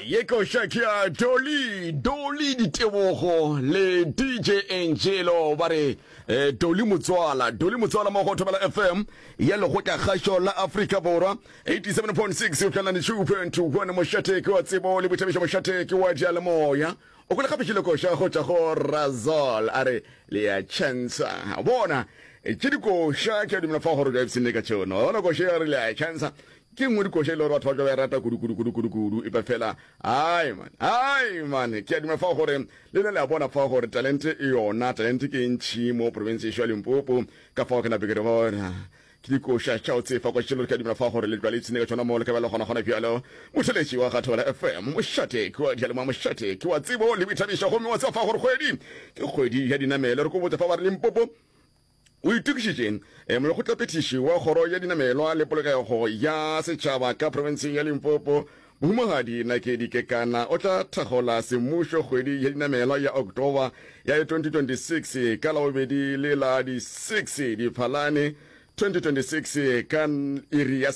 Ye koša ke ya Dolly, Dolly Ditebogo le DJ Angelo ba re eh, Dolly Motswala, Dolly Motswala mo go Thobela FM ya Lekgotlakgašo la Afrika Borwa 87.6 92.1 mošate ke wa tsebo le boithabišo mošate ke wa diyalemoya. O kwele gape šile koša go tšwa go Razol a re le ya chansa. Bona tše dikoša ke a dumela fa gore o ipshinne ka tšona. Bona koša ya re le ya chansa Ke nngwe dikoša e le gore batho ba tla ba e rata kudu kudu kudu kudu kudu epa fela ai man ai man ke a dumela fa gore le le le a bona fa gore talente e yona talente ke e ntšhi mo province ya Limpopo ka fao ke nape ke re bona ke dikoša tša o tsefa kwa tšelo ke a dumela fa gore le tla le ipshine ka tšona mo le ka ba le gona gona bjalo motheletši wa ga Thobela FM mošate ke wa diyalemoya mošate ke wa tsebo le boithabišo gomme wa tseba fa gore kgwedi ke kgwedi ya dinamelo re ko botsa fa ba re Limpopo O itokišitše eh, molekgotlaphethiši wa kgoro ya dinamelwa le polokego ya setšhaba ka profenseng ya Limpopo, Mohumagadi Nakedi Kekana o tla thakgola semmušo kgwedi ya dinamelwa ya October ya 2026 ka Labobedi le la di 6 Diphalane 2026 ka iri ya.